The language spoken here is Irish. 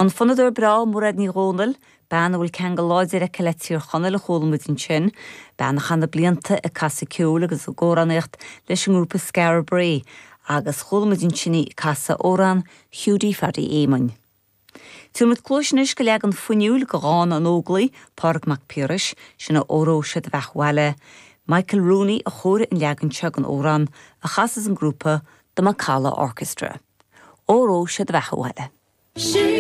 An fonnadóir breá Mairéad Ní Dhomhnaill, bean a bhfuil ceangal láidir aici le Tír Chonaill a chuala muid ansin, bean a chaith na blianta ag casadh ceoil agus ag amhránaíocht leis an ngrúpa Skara Brae agus chuala muid ansin í ag casadh amhrán Hiúdaí Phaddy Éamoinn. Tabharfaidh muid cluais anois go leagan fuinniúil de dhán an Óglaigh, Pádraig Mac Piarais, sin é Óró Sé do Bheatha 'Bhaile. Michael Rooney a chóirigh an leagan seo den amhrán a chasas an grúpa The Macalla Orchestra. Óró Sé do Bheatha 'Bhaile.